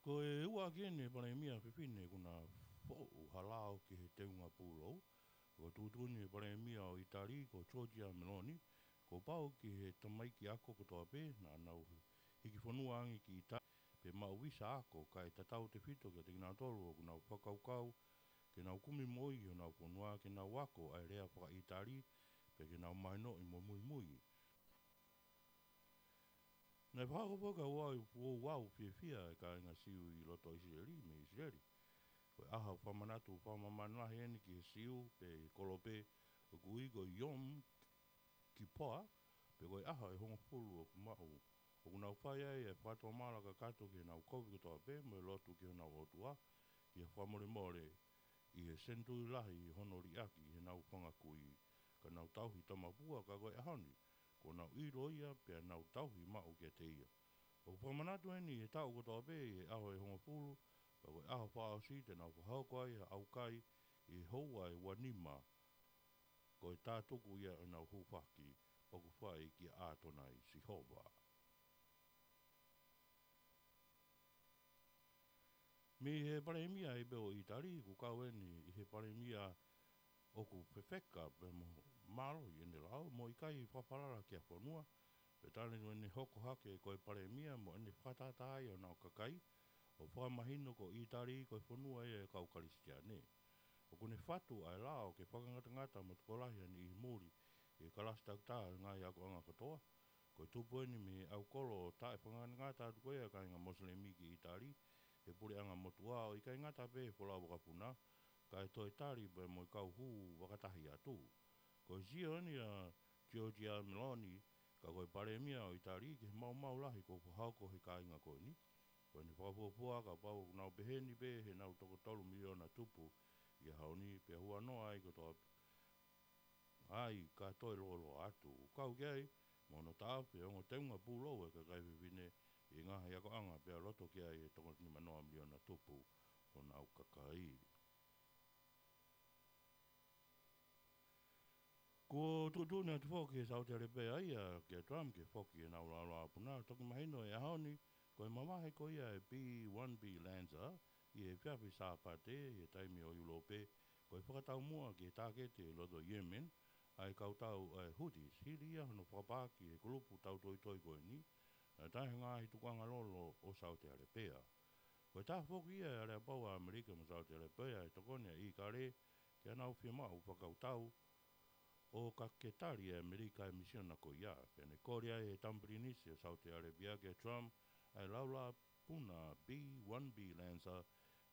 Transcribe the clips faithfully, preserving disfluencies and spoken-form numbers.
Ko e ua ʻaki eni e palēmia fefine kuo na foʻu ha lao ki he teunga pūlou. Ko e tuʻutuʻuni e palēmia ʻo ʻItali ko Giorgia Meloni, kuo pau ki he tamaiki ako kotoa pē naʻa nau hiki fonua ange ki ʻItali pe maʻu visa ako, kae tatau tefito kiate kinautolu ʻoku nau fakakaukau ke nau kumi moʻui ʻi honau fonua ke nau ako ʻa e lea fakaʻItali pe ke nau mahinoʻi mo muimui. Naʻe fakahoko foki ʻa e ouau fiefia ʻa e kāinga Siu ʻi loto ʻIsileli mei ʻIsileli. Ko e ʻaho fakamanatu fakamāmani lahi eni ki he Siu pe kolope ʻoku ui ko e Yom Kippur, pe ko e ʻaho ʻe hongofulu ʻoku maʻu, ʻoku nau fai ai e fakatomala kakato ki heʻenau kovi kotoa pē mo e lotu ki honau ʻOtua, ki he fakamolemole ʻi he senituli lahi hono liʻaki heʻenau fanga kui, ka nau tauhi tamapua, ka ko e ʻaho ni kuo nau ʻilo ia pea nau tauhi maʻu kiate ia. ʻOku fakamanatu eni he taʻu kotoa pē ʻi he ʻaho ʻe hongofulu, ka ko e ʻaho fakaʻosi te nau fakahoko ai ha ʻaukai ʻi he houa ʻe ua nima, ko e tātuku ia ʻenau hūfaki ʻoku fai kia ʻAtonai Sihova. Mei he palēmia ʻi pē ʻo ʻItali, kuo kau eni ʻi he palēmia ʻoku fefeka pea mo mālohi ʻene lao mo ʻikai fakafalala ki ha fonua, pea tali ʻene hoko hake ko e palēmia mo ʻene fakatātā ai ʻa honau kakai ʻo fakamahino ko ʻItali ko e fonua ia ʻo e kau Kalisitiane. ʻOku ne fatu ʻa e lao ke fakangatangata mo tokolahi ha niʻihi muli ʻi he kalasi takitaha ʻo e ngaahi akoʻanga kotoa. Ko e tupu eni mei he ʻaukolo taʻefakangatangata atu ko ia ʻa e kāinga Mosilemi ki ʻItali he puleʻanga motuʻa, ʻo ʻikai ngata pē he folau vakapuna, kae toe tali pē mo e kau hū vakatahi atu. Ko e sio eni ʻa Giorgia Meloni, ka ko e palēmia ʻo ʻItali, ki he maumau lahi kuo fakahoko ʻe he kāinga ko eni. Ko ʻene fakafuofua, kapau ʻoku nau pehē ni pē heʻenau toko tolu miliona tupu ʻi he ʻaho ni, pea huanoa ai kotoa ai ka toe lōloa atu. ʻOku kau ki ai mo hono taʻofi e ongo teunga pūlou ʻa e kakai fefine ʻi he ngaahi akoʻanga, pea loto ki ai e toko nimanoa miliona tupu honau kakai. Kuo tuʻutuʻuni atu foki ʻe Saute Alepeia kia Trump ke foki ʻenau laolao puna. Toki mahino he ʻaho ni, ko e mavahe ko ia e B one B Lancer ʻi he efiafi Sāpate ʻi he taimi ʻo ʻIulope, ko e fakataumuʻa ki he tāketi ʻi loto Yemen ʻa e kautau ʻa e Houthis, hili ia hono fakapaaki ʻe he kulupu tautoitoi ko eni ʻa e taha e ngaahi tukuʻanga lolo ʻo Saute Alepeia. Ko e taha foki ia e aleapau ʻa ʻAmelika mo Saute Alepeia ʻe tokoni ʻa ʻIkale ke nau fiemaʻu fakakautau ʻo ka ke tali ʻe ʻAmelika e misiona ko ia, pea ne kole ai ʻe he Tama Pilinisi ʻo Saute Alepeia kia Trump ʻa e laolao puna B one B Lancer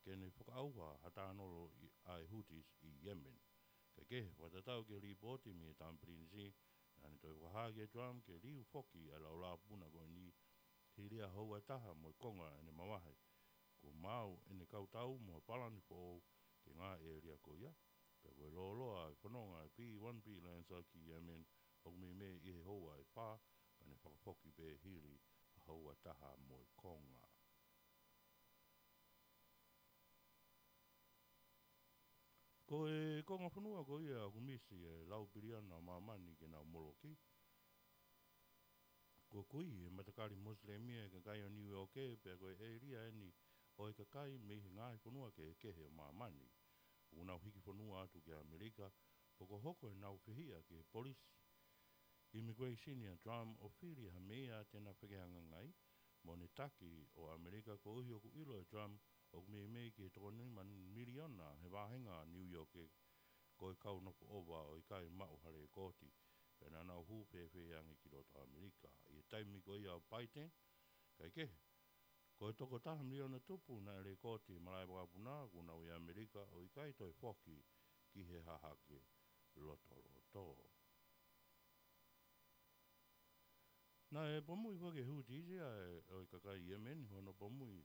ke ne fakaʻauha ha tānolo ʻa e Houthis ʻi Yemen. Kae kehe, fakatatau ki he lipooti mei he Tama Pilinisi, naʻa ne toe fakahā kia Trump ke liu foki ʻa e laolao puna ko eni hili ʻa e houa ʻe taha mo e konga ʻene mavahe. Kuo maʻu ʻene kautau mo ha palani foʻou ki he ngaahi ʻēlia ko ia, pea ko e lōloa e fononga e B one B Lancer ki Yemen ʻoku meimei ʻi he houa ʻe fā, ka ne fakafoki pē hili ʻa e houa ʻe taha mo e konga. Ko e konga fonua ko ia ʻoku misi e lau piliona ʻo māmani ke nau moloki. Kuo kui e matakali Mosilemi e kakai ʻo Niu ʻIoke, pea ko e ʻēlia eni ʻo e kakai mei he ngaahi fonua kehekehe ʻo māmani ʻoku nau hiki fonua atu ki ʻAmelika, pea kuo hoko ʻenau fehiʻa ki he polisi immigration ʻa Trump ʻo fili ha meʻa te na fekehangahangai mo ʻene taki ʻo ʻAmelika, koeʻuhi ʻoku ʻilo ʻe Trump ʻoku meimei ki he toko nima miliona he vāhenga Niu ʻIoke ko e kau nofo ʻova ʻo ʻikai maʻu ha lekooti, pea naʻa nau hū fēfē ange ki loto ʻAmelika ʻi he taimi ko ia ʻo Biden. Kae kehe, ko e toko taha miliona tupu naʻe lekooti he malaʻe vakapuna kuo nau ʻi ʻAmelika ʻo ʻikai toe foki ki he hahake lotoloto. Naʻe pomui foki ʻe he Houthis ia ʻo e kakai Yemen, hono pomui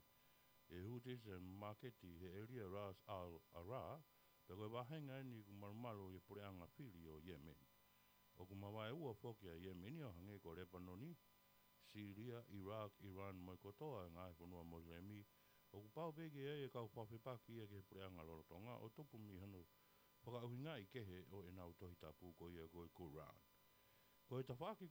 ʻe he Houthis e māketi he ʻēlia Ras Al Ara, pea ko e vāhenga eni ʻoku malumalu ʻi he puleʻanga fili ʻo Yemen. ʻOku mavaeua foki ʻa Yemen ʻo hangē ko Lepanoni, Sīlia, ʻIlaki, ʻIlani mo e kotoa e ngaahi fonua Mosilemi, ʻoku pau pē ke ʻi ai e kau fakafepaki ia ki he puleʻanga lolotonga ʻo tupu mei hono fakaʻuhingaʻi kehe ʻo ʻenau Tohi Tapu ko ia ko e Kulan. Ko e tafaʻaki ko